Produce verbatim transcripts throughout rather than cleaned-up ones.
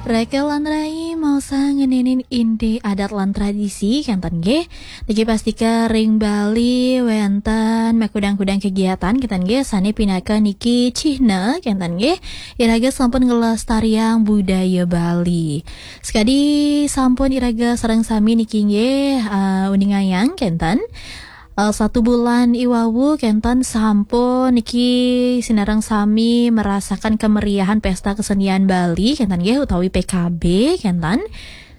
Reke lan rai, mau sa ngeninin inti adat lan tradisi, kenten nggih. Niki pastika ring Bali wenten makudang-kudang kegiatan, kenten nggih, sane pinaka niki cihna, kenten nggih, iraga sampun ngelestariang budaya Bali. Sekadi sampun iraga sareng sami niki nggih, eh, uningayang, kenten. Eh, satu bulan iwawu kenten sampun niki sinareng sami merasakan kemeriahan Pesta Kesenian Bali, kenten nggih, utawi P K B, kenten.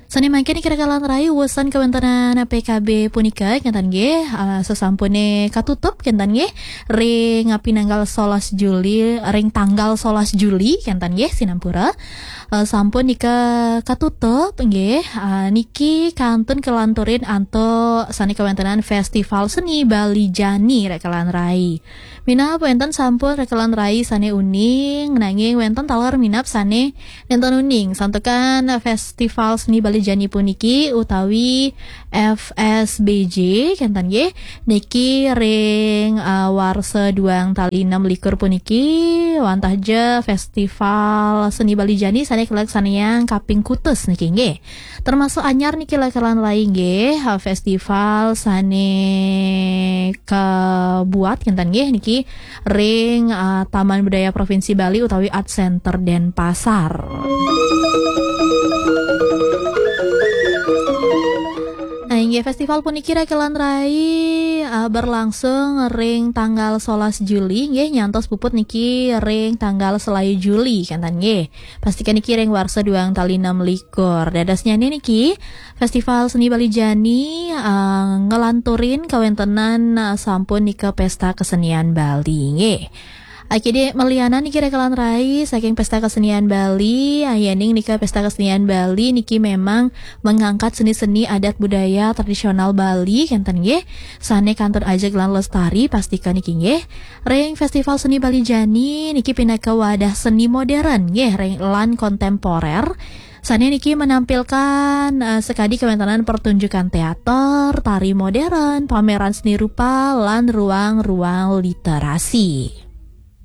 Sane mangkin niki reke lan rai, wusan kawentenan P K B punika, kenten nggih, eh, sesampune katutup, kenten nggih, ring pinanggal solas Juli, ring tanggal solas Juli, kenten nggih, sinampura. Eh, sampun nika katutup nggih. Eh, niki kantun kelanturin antuk sane kawentenan Festival Seni Bali Jani, reke lan rai. Minab wenten sampun, reke lan rai, sane uning, nanging wenten taler minab sane nenten uning. Santukan Festival Seni Bali Jani puniki utawi F S B J, kenten nggih, niki ring, eh, warsa duang tali enam likur puniki, wantah ja Festival Seni Bali Jani sane kalaksanayang kaping kutus niki nggih. Termasuk anyar niki, reke lan rai nggih, eh, festival sane kabuat, kenten nggih, niki ring, eh, Taman Budaya Provinsi Bali utawi Art Center Denpasar. Nah, inggih, festival puniki, reke lan rai, eh, berlangsung ring tanggal solas Juli nggih, nyantos puput niki ring tanggal selayu Juli, kenten nggih. Pastika niki ring warsa duang tali enam likur. Dadosnyane niki, Festival Seni Bali Jani, eh, ngelanturin kawentenan, eh, sampun nika Pesta Kesenian Bali nggih. Akidi melianan niki, reke lan rai, saking Pesta Kesenian Bali, eh, yening nika Pesta Kesenian Bali niki memang mengangkat seni-seni adat budaya tradisional Bali, kenten nggih, sane kantun ajeg lan lestari, pastika niki nggih. Ring Festival Seni Bali Jani niki pinaka wadah seni modern nggih, ring lan kontemporer. Sane niki menampilkan, eh, sekadi kawentenan pertunjukan teater, tari modern, pameran seni rupa, lan ruang-ruang literasi.